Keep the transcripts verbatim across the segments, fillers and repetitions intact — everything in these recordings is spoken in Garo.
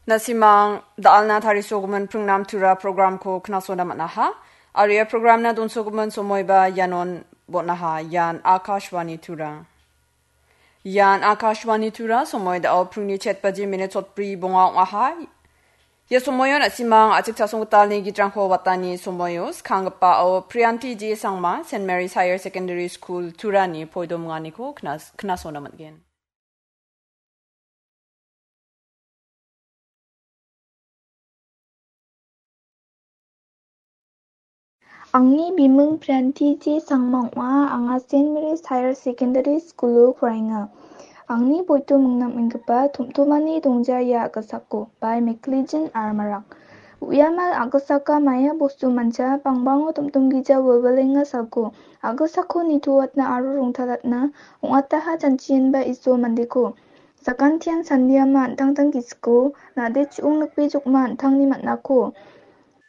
Na·simang da·alna tarisogimin pringnam Tura programko knasona man·aha. Aro ia programna donsogimin somoiba ianon bon·aha. Ian Akashvani Tura. Ian Akashvani Tura, somoi da·o pringni chet baji minit sotbri bonga ong·aha. Ia somoio na·simang a·chik chasonggitalni gitrangko watani somoio, skanggipao Priyanti J Sangma, Saint Mary's Higher Secondary School Turani poidominganiko knas-, knasona man·gen. Angni biming Priyanti J Sangma ong·a, anga Saint Mary's Higher Secondary School-o poraenga. Angni poito mingnam inggipa Tomtomani Dongja ia a·gisako, by Mclean R Marak. Uiamal a·gisaka maia bostu mancha, bangbango tomtomgija wilwilenga salko, a·gisako nitoatna aro rongtalatna ong·ataha janchienba Iso mandeko. Sakantian sandiama an·tangtang gisiko, nade chu·ong nikbejokma an·tangni man·ako.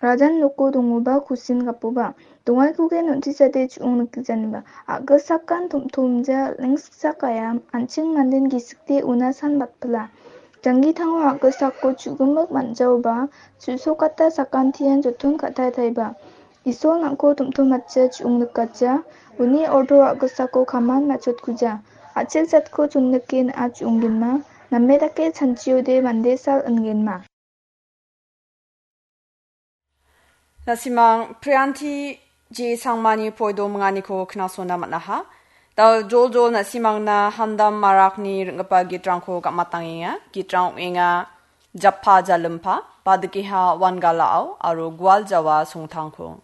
Rajan noko dongoba kusin gapoba. Dongaikogen on·tisade chu·ong nikgijaniba. A·gisakan tom·tomja lengsiksak ayam, an·ching manden gisikde una san batpila. Janggitango a·gisako chu·gimik man·jaoba, chu·sokata sakantian joton ka·taitaiba. Isol nang·ko tom·tomatja chu·ong nikatja, uni ordo a·gisako kaman matchotkuja. A·chik jatko chonnike na·a chu·onggenma, name dake chanchiode mande sal ingenma. Na·simang Priyanti J Sangmani poidominganiko knasona man·aha. Dal joljol na·simangna Handam Marakni ring·gipa gitrangko gam·atangenga. Gitrang ong·enga Jappa Jalimpa, Badikeha Wangalao aro Gualjawa Songtangko.